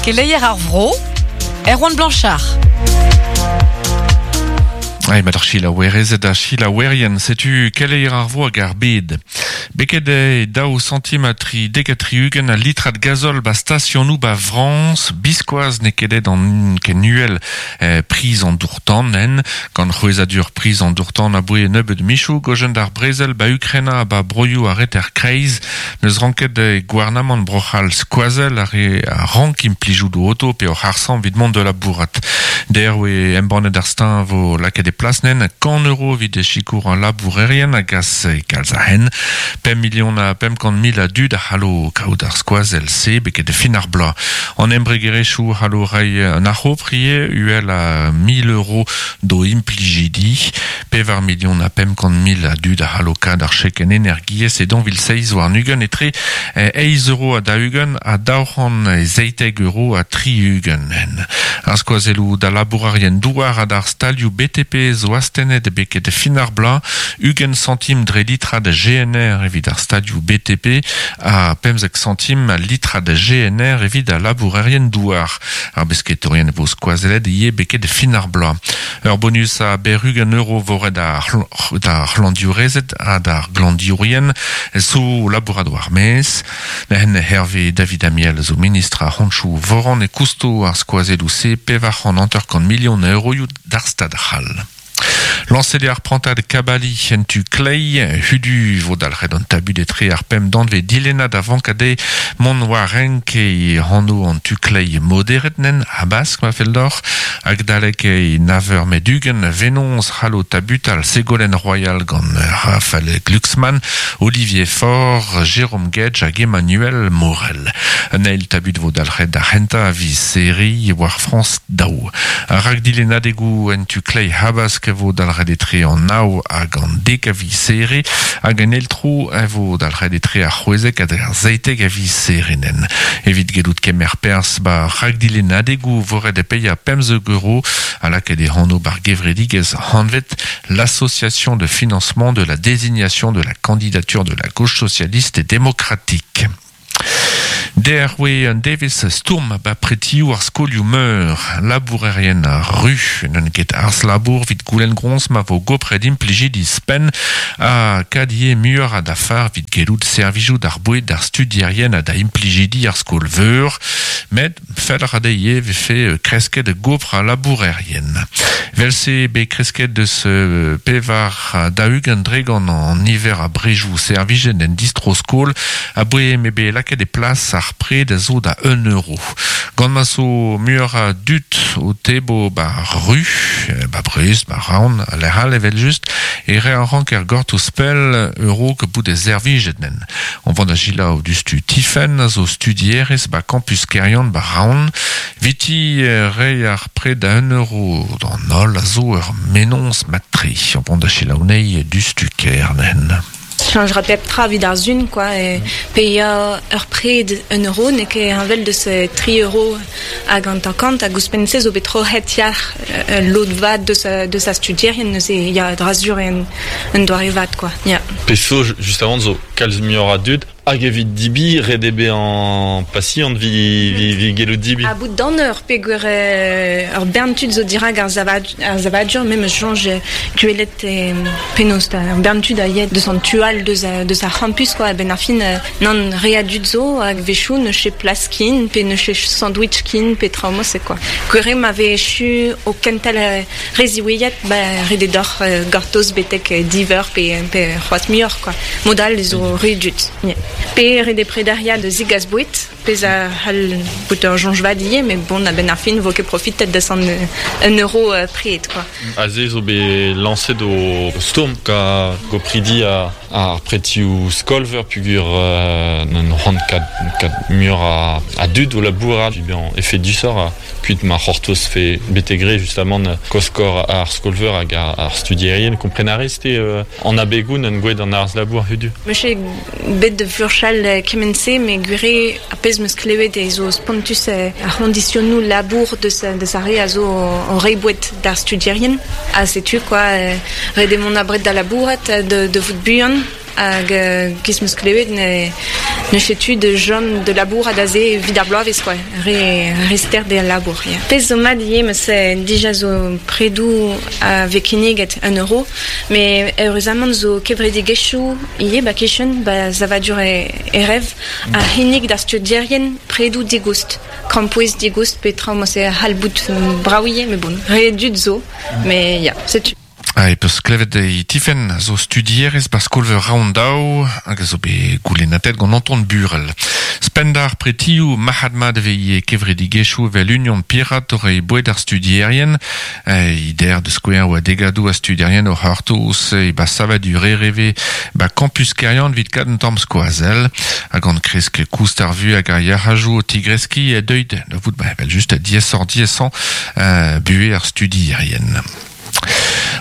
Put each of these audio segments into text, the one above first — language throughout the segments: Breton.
Keleier ar vro, Erwan Blanchard. Ai, mat ar selaouerezed ha selaouerien, setu keleier ar vro hag ar bed. Beket eo daou santim ha tri dek ha tri-ugent a litrad gazol ba stasionoù ba Frañs, biskoazh n'eo ket aet an ken uhel eh, priz an dour-tan en, gant c'hwezhadur priz an dour-tan aboe nebeut michoù gojen d'ar brezel ba Ukraina ha ba broioù ar reter kreiz N'eus ranket e gouarnamant Bro-C'hall skoazell ar re a rank implijout o oto pe o c'harr-samm evit mont da labourat. Dec'h oe embannet ar steuñv vo lakaet e plas nen kant euro evit sikour an labourerien a gas kalz a hent. Pemp milion ha 500 mil a dud a c'hallo kaout ar skoazell-se beket fin ar bloaz. An embregerezhioù c'hallo reiñ un arc'hopr ivez uhel a 1000 euro d'o implijidi. Pevar milion ha 500 mil a dud a c'hallo kad ar chekenn energiezh e 2027 etre eizh euro ha 40 ha 217 euro ha 60. Ar skoazelloù da labourerien douar ha d'ar stalioù BTP zo astennet beket fin ar bloaz, 20 santim dre litrad GNR evit ar stalioù BTP ha 15 santim litrad GNR evit al labourerien douar. Ar besketourien vo skoazellet ivez beket fin ar bloaz. Ur bonus a berr-ugent euro vo ret d'ar c'hlañdiourezed ha d'ar glañdiourien zo labourat war maez. Neuzen Hervé David Amiel zo ministr ar c'hontoù voran e kousto ar skoazelloù-se 450 milion a euroioù d'ar Stad c'hall. Lañset eo ar prantad kabaliñ en tu kleiz. Hudu vo dalc'het an tabut etre ar pemp danvez dilennad a vank dezhe mont war renk e anv an tu kleiz moderet nen habask ma fell deoc'h. Hag dalek e nav eur met 20 venoz c'hallo tabutal Ségolène Royal gant Raphaël Glucksmann, Olivier Faure, Jérôme Guedj hag Emmanuel Morel. Un eil tabut vo dalc'het d'ar c'hentañ a viz Serri war Frañs daou. Ar rakdilennadegoù en tu kleiz habask e vo dalc'het etre an nav hag an dek a viz Here hag en eil tro e vo dalc'het etre ar c'hwezek hag ar seitek a viz Herenen. Evit gellout kemer perzh ba rakdilennadegoù vo ret paeañ 15 euro ha lakaet e anv bar gevredigezh anvet l'Association de financement de la désignation de la candidature de la gauche socialiste et démocratique. Dec'h oe un devezh stourm ba pretioù ar skolioù-meur. Labourerien ru n'eus ket harz-labour evit goulenn groñs ma vo gopret implijidi spenn ha kad ivez muioc'h a dafar evit gellout servijout ar boued d'ar studierien ha da implijidi ar skol-veur. Met fell a ra dezhe ivez vefe kresket gopr al labourerien. Evel-se bet kresket deus pevar 40 dregont an niver a brejoù servijet en distro-skol aboe m'eo bet lakaet e plas ar pred a zo da un euro. Gant ma zo muioc'h a dud o tebo ba ru, ba Brest, ba Raon, ha lec'h all evel-just, e re a ranker gortoz pell a-raok bout servijet nen. On vont da selaou diouzhtu Tifenn a zo studierez ba campus Keryann ba Raon. Viti reiñ ar pred da un euro d'an holl a zo ur mennozh mat-tre. On vont da selaou anezhi diouzhtu Kerne. Cheñch ra pep tra evit ar sun quoi e paeañ ur pred un euro n'eo ket heñvel deus tri euro hag hanter-kant hag ouzhpenn-se zo bet troc'het yalc'h ul lod vat deus deus ar studierien neuze ya dra-sur eo un doare vat quoi ya. Pezh zo justement zo kalz muioc'h a dud hag evit dibi ret eo bezañ pasiant 'vit gellout dibi. Ha bout d'an eur peogwir ur bern tud zo dirak ar savadur me 'meus soñj gwelet penaos ur bern tud a ya deus an tu all deus deus ar c'hampus quoi a-benn ar fin nann re a dud zo hag 'wechoù n'eus ket plas ken pe n'eus ket sandwich ken pe traoù mod-se quoi. Gwir eo ma vez echu o kentel re ziwezhat ba ret eo deoc'h gortoz betek div eur pe pe c'hoazh muioc'h quoi. Mod all zo re dud. Pe ret eo prederiañ da zegas boued, pezh a c'hall bout ur soñj vat ivez, met bon a-benn ar fin 'vo ket profitet deus an un euro pred quoi. Aze zo bet lañset o stourm ga gopridi ar pretioù skol-veur peogwir n'on c'hoant kat muioc'h a dud o labourat bezañ efedusoc'h kuit ma c'hortozfe betek re justamant koskor ar skol-veur hag ar studierien. Kompren a rez-te an abegoù n'en gouet an harz-labour hudu? Meus ket bet da furchal kement-se met gwir eo ar pezh 'meus klevet eo zo spontus ar c'hoñdisionoù labour deus deus ar re a zo o reiñ boued d'ar studierien. Ha setu quoi, ret eo mont abred da labourat, da vout buan. Hag giz 'meus klevet ne N'eus ket tu da chom da labourat aze evit ar bloavezh quoi, re re stert eo al labour ya. Pezh zo mat ivez ma se dija zo predoù a vez kinniget un euro met eüruzamant zo kevredigezhioù ivez ba kichen ba savadur Erev a c'hinnig d'ar studierien predoù digoust, krampouezh digoust pe traoù ma se a c'hall bout brav ivez met bon re dud zo met ya setu. Ha e peus klevet e Tifenn a zo studierez ba skol-veur Raondaou hag a zo bet goulennatet gant Anton Burel. Spendar pretioù marc'had-mat e vez ivez kevredigezhioù evel Union Pirat o reiñ boued ar studierien. E der da skouer oa degadoù a studierien o c'hortoz e ba savadur RV ba campus Keryann evit kad un tamm skoazell. Ha gant kresk koust ar vuhez hag ar yac'hajoù o tigreskiñ e deuit da vout ba evel-just diaesoc'h-diaesañ buhez ar studierien.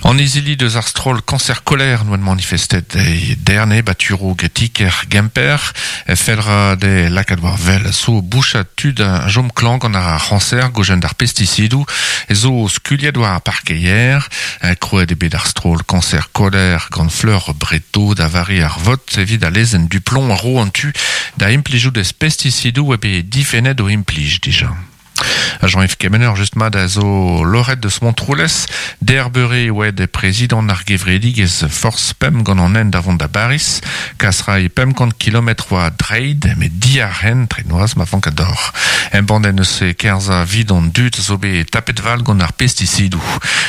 An izili deus ar stroll Cancer Colère n'oant manifestet e derne ba Turo Getiker Gemper felra de lakaat war wel zo bouchat tud a jom klañv gant ar c'hañser gojen d'ar pestisidoù zo skuliet war ar parkeier. Krouet eo bet ar stroll Cancer Colère gant Fleur Breto da vare ar vot evit al lezenn Duplomb a ro an tu da implijout ez pestisidoù eo bet difennet o implij dija. Jean-Yves Kemener just mat a zo loc'het deus Montroulez. Der beure e oa prezidant ar gevredigezh Force Pemp gant an hent da vont da Baris. Kas ray 500 kilometr oa dreid, met diarc'hen tre noazh ma vank ador. Embann en eus kerzhañ 'vit an dud zo bet tapet val gant ar pestisidoù.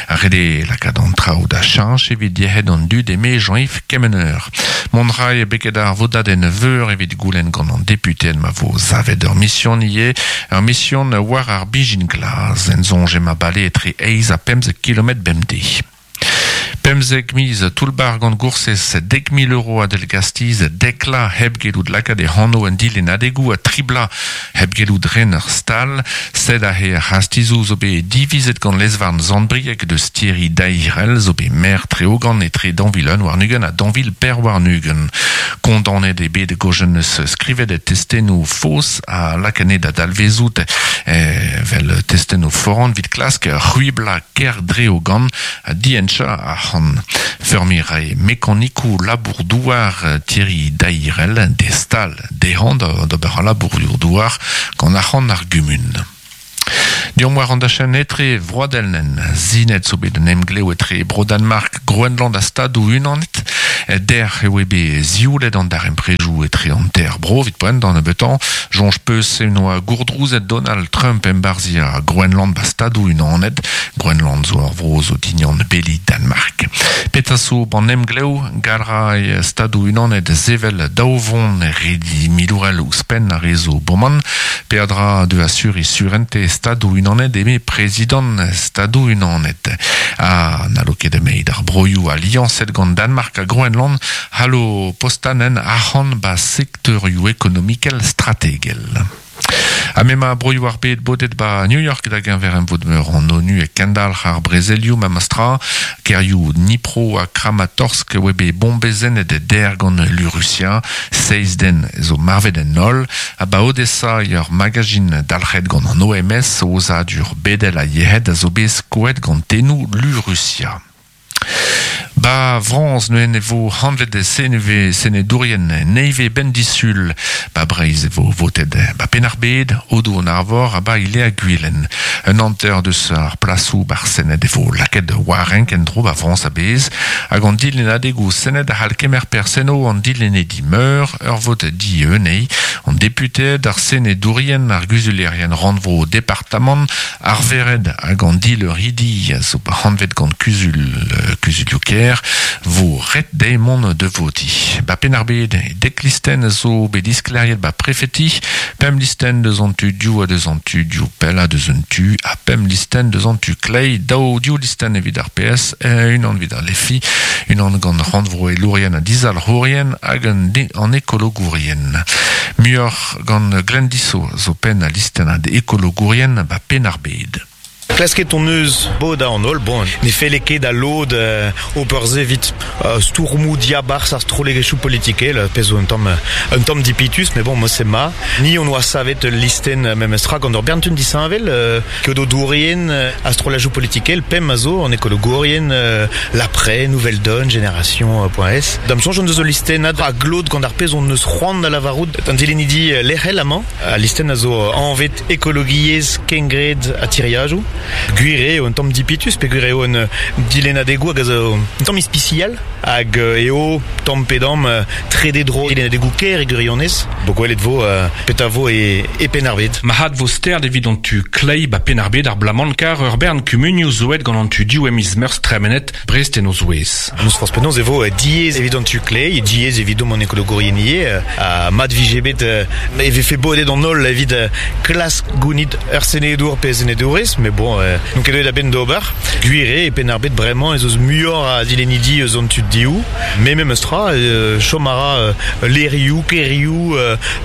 Ret eo lakaat an traoù da cheñch evit yec'hed an dud eme Jean-Yves Kemener. Mont 'ray beket ar vodadenn veur evit goulenn gant an deputeed ma vo savet ur mision ivez, ur mision war ar bijin glas. En soñj emañ bale etre eizh ha 15 kilometr bemdez. 15 miz toull-bac'h gant goursez 10,000 euro a delgastiz, dek la hep gellout lakaat e anv en dilennadegoù ha tri bloaz hep gellout ren ur stal. Sed aze ar c'hastizoù zo bet divizet gant lez-varn Sant-Brieg deus Thierry Dairel zo bet maer Treogan etre 2021 ha 2024. Kondaonet eo bet Gojen eus skrivet testennoù faos ha lakaet da dalvezout evel testennoù foran evit klask c'hwiblañ kêr Dreogan ha dihenchañ arc'hant. Feurmiñ 'rae mekanikoù labour-douar Thierry Dairel d'e stal dezhañ d'ober al labourioù-douar gant arc'hant ar gumun. Deomp war an dachenn etre vroadelnen. Sinet zo bet un emglev etre Bro-Danmark, Groenland ha Stadoù-Unanet. Dec'h e oe bet zioulet an darempredoù etre an teir bro evit poent d'an nebeutañ. Soñj 'peus en oa gourdrouzet Donald Trump embarzhiañ Groenland ba Stadoù-Unanet. Groenland zo ur vro zo dignan beli Danmark. Petra zo ban emglev gall 'ray Stadoù-Unanet sevel daou vont redi milourel ouzhpenn ar re zo boman. Peadra de asuriñ surentez Stadoù-Unanet eme prezidant Stadoù-Unanet. Ha n'hallo ket emeit ar broioù aliañset gant Danmark ha Groenland c'hallo postañ en arc'hant ba sektorioù ekonomikel strategel. Ha m'emañ broioù ar bed bodet 'ba New York da geñver emvod-meur an ONU e kendalc'h ar brezelioù memes tra. Kêrioù Dnipro ha Kramatorsk e oa bet bombezennet der gant lu Rusia. Seizh den zo marvet en holl. Ha 'ba Odessa eo ur magazin dalc'het gant an OMS, Aozadur bedel a yec'hed, a zo bet skoet gant tennoù lu Rusia. Ba Frañs neuze e vo hanvet senedourien nevez 'benn disul. Ba Breizh e vo votet ba Penn-ar-Bed, Aodoù-an-Arvor ha ba Ilea-Gwilen. Un hanter deus ar plasoù ba'r Sened e vo lakaet war renk en-dro ba Frañs a-bezh. Hag an dilennadegoù Sened a c'hall kemer perzh enno an dilennedi meur, ur vot dieun eo. An deputeed, ar senedourien, ar guzulerien rannvro departamant, Ar vered hag an dileuridi a zo hanvet gant kuzul kuzulioù-kêr vo ret dezhe mont da votiñ. Ba Penn-ar-Bed, dek listenn a zo bet disklêriet ba prefeti, pemp listenn deus an tu div ha deus an tu div pellañ deus un tu, ha pemp listenn deus an tu kleiz, daou div listenn evit ar PS, unan evit ar LEFI, unan gant rannvroelourien ha dizalc'hourien hag an ekologourien. Muioc'h Gant Glenn Dissot zo penn al listennad ekologourien ba Penn-ar-Bed. Klasket hon eus bodañ an holl, bon, ne felle ket da lod ober se evit stourmoù diabarzh ar strollegezhioù politikel, pezh zo un tamm un tamm dipitus, met bon, mod-se 'ma. Ni hon oa savet ul listenn memestra gant ur bern tud disheñvel, keodedourien ha strollajoù politikel, pemp a zo, an ekologourien, L'Après, Nouvelle Donne, Génération.s. Da'm soñj hon deus ul listennad a glot gant ar pezh hon eus c'hoant da lavarout d'an dilennidi lec'hel amañ. Al listenn a zo anvet Ekologiezh, kengred ha tiriadoù. Gwir eo un tamm dipitus peogwir eo un dilennadegoù hag a zo un tamm ispisial hag eo tamm pe damm trede dro dilennadegoù kêr e gwirionez. Bo gwelet vo petra vo e Penn-ar-Bed. Marc'had vo stert evit an tu kleiz ba Penn-ar-Bed ar bloaz-mañ kar ur bern kumunioù zo aet gant an tu div e miz Meurzh tremenet, Brest en o zouez. N'eus forzh penaos e vo diaes evit an tu kleiz, diaes evidomp an ekologourien ivez, ha mat vije bet e vefe bodet an holl evit klask gounit ur senedour pe senedourez, met bon, n'on ket deuet a-benn d'ober. Gwir eo e Penn-ar-Bed bremañ ez eus muioc'h a dilennidi eus an tu dehou, met memes tra, chom a ra levrioù, kêrioù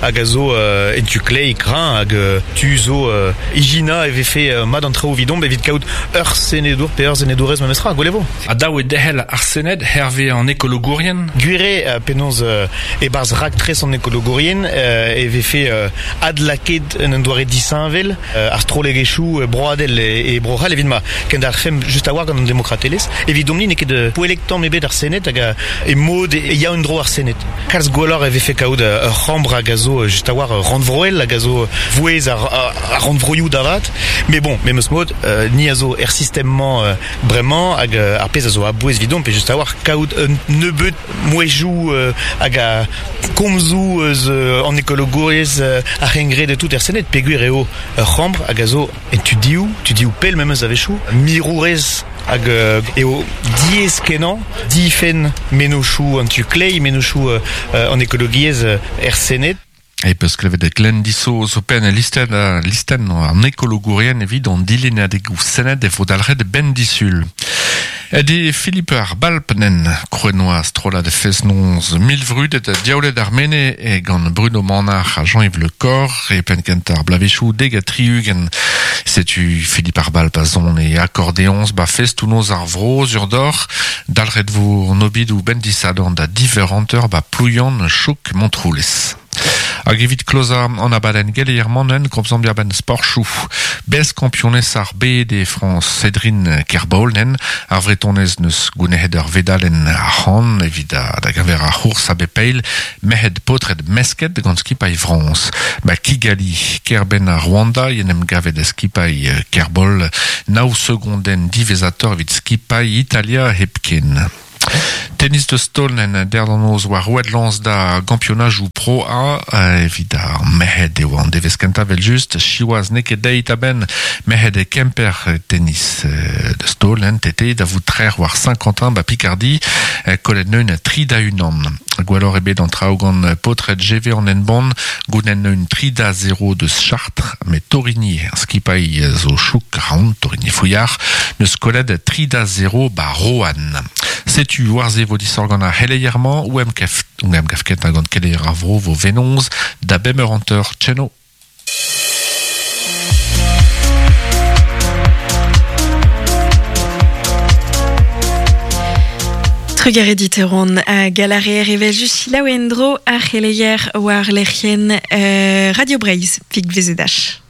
hag a zo en tu kleiz kreñv hag tu zo ijinañ e vefe mat an traoù evidomp evit kaout Ur senedour pe ur senedourez memestra, gwell e vo. Ha dav eo derc'hel ar Sened hervez an ekologourien? Gwir eo penaos e-barzh raktres an ekologourien e vefe adlakaet en un doare disheñvel ar strollegezhioù broadel e Bro-C'hall evit ma kendalc'hfemp just a-walc'h gant an demokratelezh. Evidomp-ni n'eo ket poellek tamm ebet ar Sened hag e mod e ya en-dro ar Sened. Kalz gwelloc'h e vefe kaout ur c'hambr hag a zo just a-walc'h rannvroel hag a zo vouezh ar rannvroioù da vat. Met bon, memes mod, ni a zo er sistem-mañ bremañ hag ar pezh a zo a-bouez evidomp eo just a-walc'h kaout un nebeud mouezhioù hag a komzoù eus an ekologouriezh ar c'hengred e tout er Sened peogwir eo ur c'hambr hag a zo en tudioù, tudioù pell memes a-wechoù, mirourez hag eo diaes-kenañ difenn mennozhioù an tu kleiz, mennozhioù an ekologiezh er Sened. E peus klevet Glenn Diso zo penn listenn, listenn an ekologourien evit an dilennadegoù Sened e vo dalc'het benn disul. Ed Philippe ar Balpnen, kroenoa strollad fest-noz milvrudet diaoulet ar mene e gant Bruno Manac'h ha Jean-Yves Le Corr e penn kentañ ar bloavezhioù 70. Setu Philippe ar Balp a son e akordeoñs ba festoù-noz ar vro sur doc'h. Dalc'het vo an obidoù benn disadorn da diveranteur ba Plouyann, Chouk, Montroulez. Hag evit klozañ an abadenn geleier-mañ komzomp diàr-benn sporchoù. Bez-kampionez ar bed e Frañs Cédrine Kerbaol-nen. Ar Vretonez n'eus gounezet ur vedalenn arc'hant evit da geñver ar c'hours a bep eil merc'hed paotred mesket gant skipailh Frañs. Ba Kigali, kêr-benn ar Rwanda, en em gavet skipailh Kerbaol nav segondenn diwezhatoc'h evit skipailh Italia hepken. Tennis deus taol en derv-noz war roet lañs da gampionajoù Pro A evit ar merc'hed eo an devezh kentañ evel-just. Siwazh n'eo ket deit a-benn merc'hed e Kemper tennis deus taol en TT da vout trec'h war Saint-Quentin ba Picardie kollet neun 3-1. Gwelloc'h eo bet an traoù gant paotred GV an Henbont goulenn neun 3-0 deus Chartres met Torigny skipailh zo chouk raon Torigny Fouillard neus kollet 3-0 ba Roanne. Setu war-se vo disoc'h gant ar c'heleier-mañ o em gav kentañ gant keleier ar vro vo Venoz da bemp eur hanter tcheno. Trugarez dit Erwan a galareer evel just selaou en-dro ar c'heleier war lec'hienn Radio Breizh, pik VZH.